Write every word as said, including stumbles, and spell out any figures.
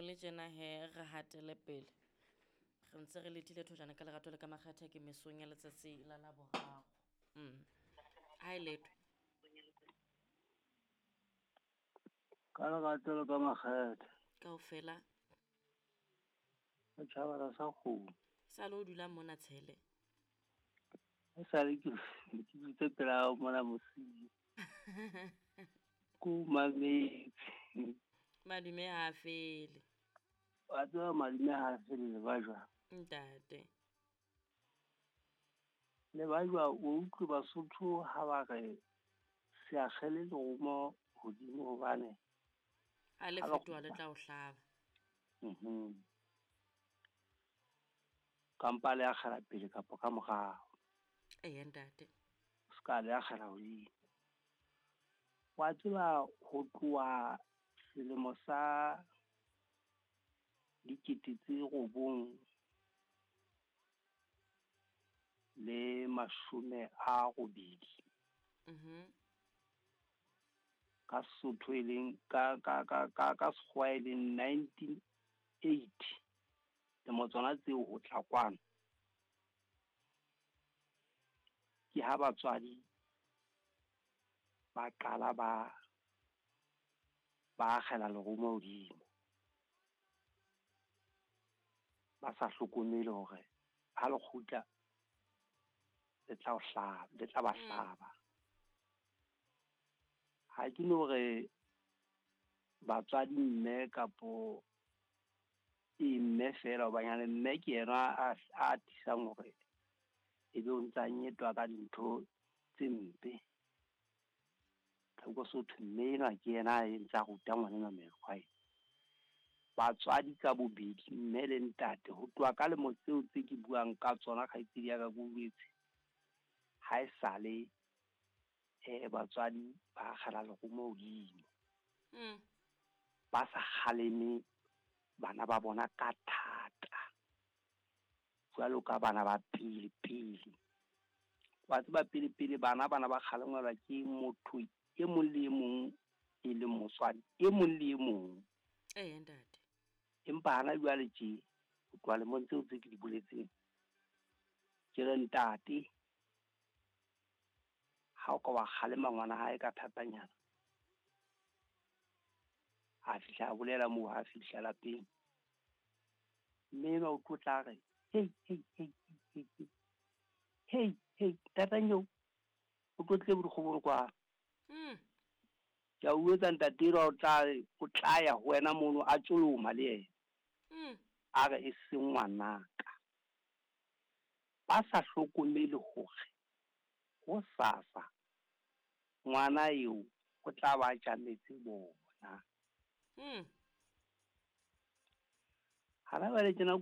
le tjena he re hatele pele. Re ntse re letile thojana ka lerato le ka makgethe ke mesong ya letsatsi la Laboraro. Mm. Ha e letho. Ka lerato le ka makgethe. Kaofela. Setjhaba sa kgomo. Sa le o dula mona tshele. E sale ke ke dutse pela hao mona mosiu. Ko mametse. Madume ha fele. Wa tseba madume ha fele le ba jwang? Ntate. Le ba jwang o utlwe Basotho ha ba re se akgele lerumo hodimo hobane ha le fetoha le tla o hlaba. Mhm. Kampa le akgela pele kapa ka morao. Ee ntate. Ska le akgela hodimo. Wa tseba ho tloha selemo sa dikete tse robong le mashome a robedi. Mhm. Ka Sesotho e leng ka ka ka ka ka Sekgowa e leng nineteen eighty. Lemo tsona tseo ho tla kwano. Ke ha batswadi ba qala ba ba akgela lerumo hodimo. Ba sa hlokomele hore ha le kgutla le tla o hlaba, le tla ba hlaba. Ha ke no re batswadi mme kapo e mme fela hobanyane mme ke yena a a tisang hore ebe o ntsa nyetwa ka dintho tse mpe. Tlhoko Sotho mme enwa ke yena a ntsa ruta ngwana mekgwa ena. Batswadi ka bobedi mme le ntate ho tloha ka lemo tseo tse ke buang ka tsona kgaitsedi ya ka ke boletse. Ha e sale eh batswadi ba akgela lerumo hodimo. Mm. Ba sa kgaleme bana ba bona ka thata. Jwalo ka bana ba pele pele. Wa tseba pele pele bana bana ba kgalengelwa ke motho e mong le e mong e leng motswadi e mong le e mong. Ee ntate. Empa hana jwale tje ho tloha lemong tseo tse ke di boletseng. Ke re ntate ha o ka wa kgalema ngwana hae ka thatanyana. Ha fihla a bolela moo ha fihla lapeng. Mme enwa o tlo tla re hey hey hey hey hey hey hey tatanyo o tlo tle bodikgobong kwa. Mm. Ke a o etsa ntate enwa o tla o tla ya ho wena mono a tsoloma le yena. Mm. A re e se ngwanaka. Ba sa hlokomele hore ho sasa ngwana eo o tla ba tjametse bona. Mm. Ha ba le tjena